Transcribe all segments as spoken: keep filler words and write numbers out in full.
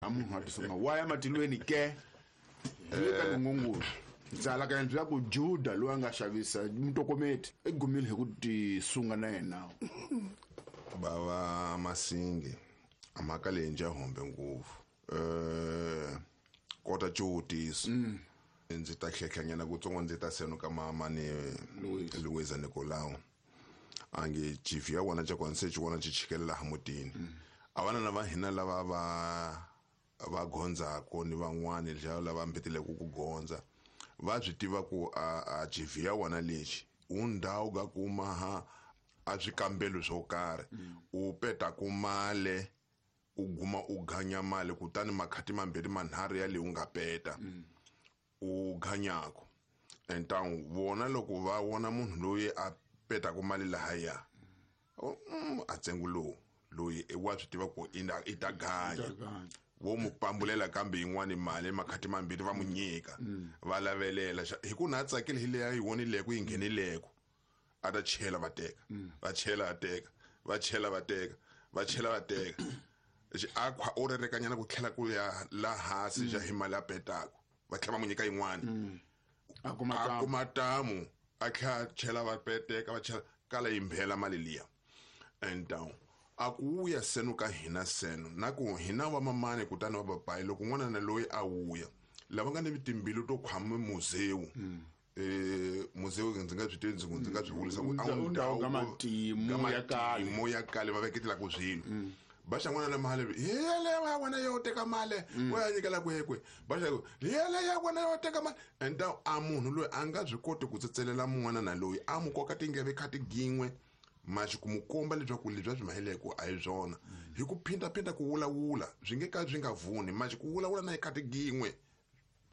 A munhu a tisunga wa ya matilweni ke hi ka nongongolo ndzala ka endla ku Juda loyi a nga xavisa mutokometi i gumile hi ku tisunga na yena. Bava Masingi a mhaka leyi nja hombe ngopfu eh kota xivutiso ndzi ta tlhetlhanyana kutsongo ndzi ta seno ka mama ni Luisa Nicolau a nge chief ya wona xa kona se xi vona xi chikelela laha mutini a vana lava hina lava va va gondzako ni van'wani lava mbeteleke ku gondza va swi tiva ku a a chief ya wona lexi u ndhawu ka kuma ha a swikambelo swo karhi u peta ku male u guma u ganya mali kutani makhati mambirhi manharhu ya leyi u nga peta u ganyako entangu vona loko va vona munhu loyi a petaka mali lahaya a ntsengo lowu loyi wa swi tiva ku i ta ganya vo mu pambulela kambe yin'wani mali makhati mambirhi va mu nyika va lavelela hi ku na a tsakile hi leyi a yi vonileko yi nghenileko a ta chela va teka va chela va teka va chela va teka va chela va teka a khwa o rerekanyana ku tlhela ku ya la hansi xa hi mali a petaka va tlhela va mu nyika yin'wani a kuma a kuma tamu a tlhela chela va peteka va chela kala yi mbhela mali liya and down a ku wuya seno ka hina seno na ku hina va mamani kutani va papayi loko n'wana na loyi a wuya lava nga ni timbilu to khwama muzewu eh muzewu ndzi nga byi tivi ndzi ndzi nga byi vulisa ku a wu ndhawu ka matimu ya kale mo ya kale va veketela ku swilo ba xa n'wana na mali yele wa wena yo teka mali wa ya nyikela kwekwe ba xa yele ya wena yo teka mali and a munhu loyi a nga byi koti ku tsetselela mun'wana na loyi a mu koka tingeve kha tigin'we maxi ku mu komba leswaku leswi a swi maheleko a hi swona hi ku phindaphinda ku vulavula swi nge ka swi nga vuni maxi ku vulavula na hi kha tigin'we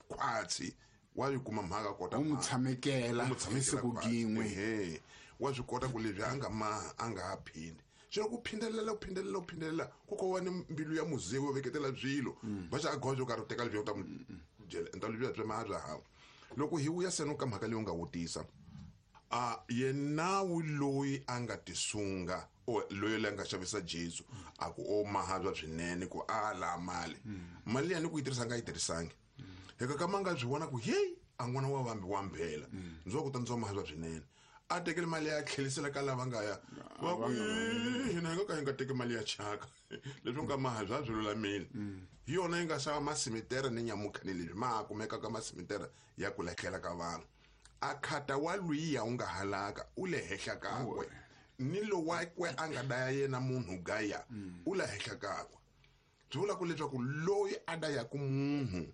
khwatsi wa yi kuma mhaka kota u mu tshamekela hi siku gin'we ehe wa swi kota ku leswi a nga ma a nga ha phindi xo ku phindelela ku phindelela ku phindelela ku ko va ni mbilu ya muzewu yo veketela swilo va xa a goza yo karhi u teka leswi u ta mu byela enta leswi bya ma bya hava loko hi vuya seno ka mhaka leyi u nga vutisa a yenawu loyi a nga tisunga o loyi la nga xavisa Jesu a ku o mahabya swinene ku a la mali mali ya ni ku yi tirhisa nga yi tirhisangi hikuva ka ma nga byi vona ku heyi a n'wana wa vambi wa mbhela ndzi wa ku ta ndzi wa mahabya swinene a tekele mali ya tlhelisela ka lava nga ya va ku hina hi nga ka hi nga teki mali ya chaka leswi nga mahabya a byi lulamile hi yona yi nga xava masimitere ni nyamukha ni leswi ma ha kumeka ka masimitere ya ku lahlela ka vanhu a khata wa lwiya u nga halaka u le henhla kakwe ni lowakwe a nga daya yena munhu gaya u le henhla kakwe byi vula ku leswaku loyi a dayaku munhu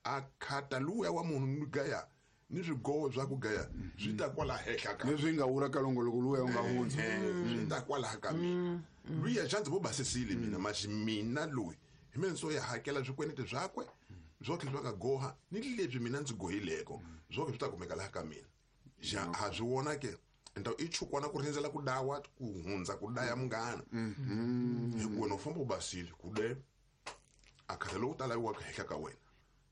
a khata luya wa munhu gaya ni swigowo swa ku gaya swi ta kwala henhla ka leswi nga wula ka longoloko luya u nga hundza swi ta kwala ka mina luya xa ndzi vo basisile mina maxi mina loyi hi mina ndzo ya hakela swikwenete swakwe swo tlhela swa ka goha ni leswi mina ndzi gohileko swo swi ta kumeka laha ka mina xa ha swi vona ke enta i chukwana ku rindzela ku dawa ku hundza ku daya munghana hi ku wena u famba u basile ku de a khata lowu ta laviwaka henhla ka wena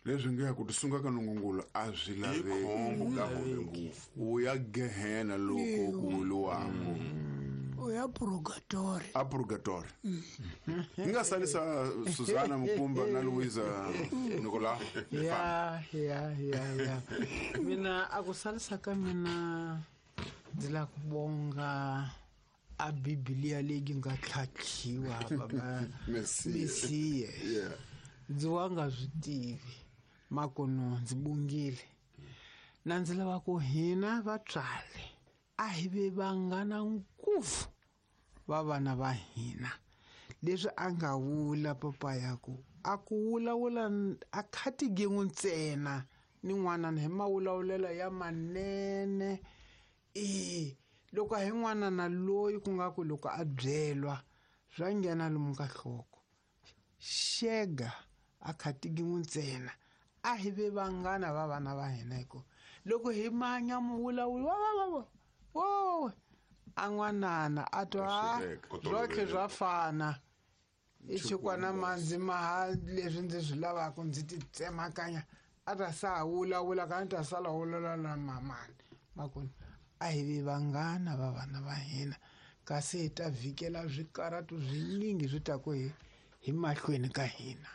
leswi nge ku tisunga ka nongongolo a swi laveki khombo ka hombe ngopfu u ya gehena loko ku wuluwako u ya purgatori a purgatori hi nga salisa Susana Mukumba na Luisa Nicolau ya ya ya ya mina a ku salisa ka mina ndzi lava ku bonga a Biblia leyi nga tlhatlhiwa baba Mesiya ndzi wa nga swi tivi makono ndzi bungile na ndzi lava ku hina vatswari a hi ve vanghana ngopfu va vana va hina leswi a nga vula papa ya ku a ku vulavula a khati gin'we ntsena ni n'wana hi mavulavulelo ya manene e loko hi n'wana na loyi ku nga ku loko a byelwa swa nghena lomu ka nhloko xega a khati gin'we ntsena a hi ve vanghana va vana va hina hikuva loko hi manya muvulavuli wa va va wo a n'wanana a twa swotlhe swa fana i xikwana mandzi maha leswi ndzi swi lavaka ndzi ti tsemakanya a ta sa vulavula ka ni ta sala vulavula na mamani makoni a hi ve vanghana va vana va hina kasi hi ta vhikela swikaratu swinyingi swi ta ku hi hi mahlweni ka hina.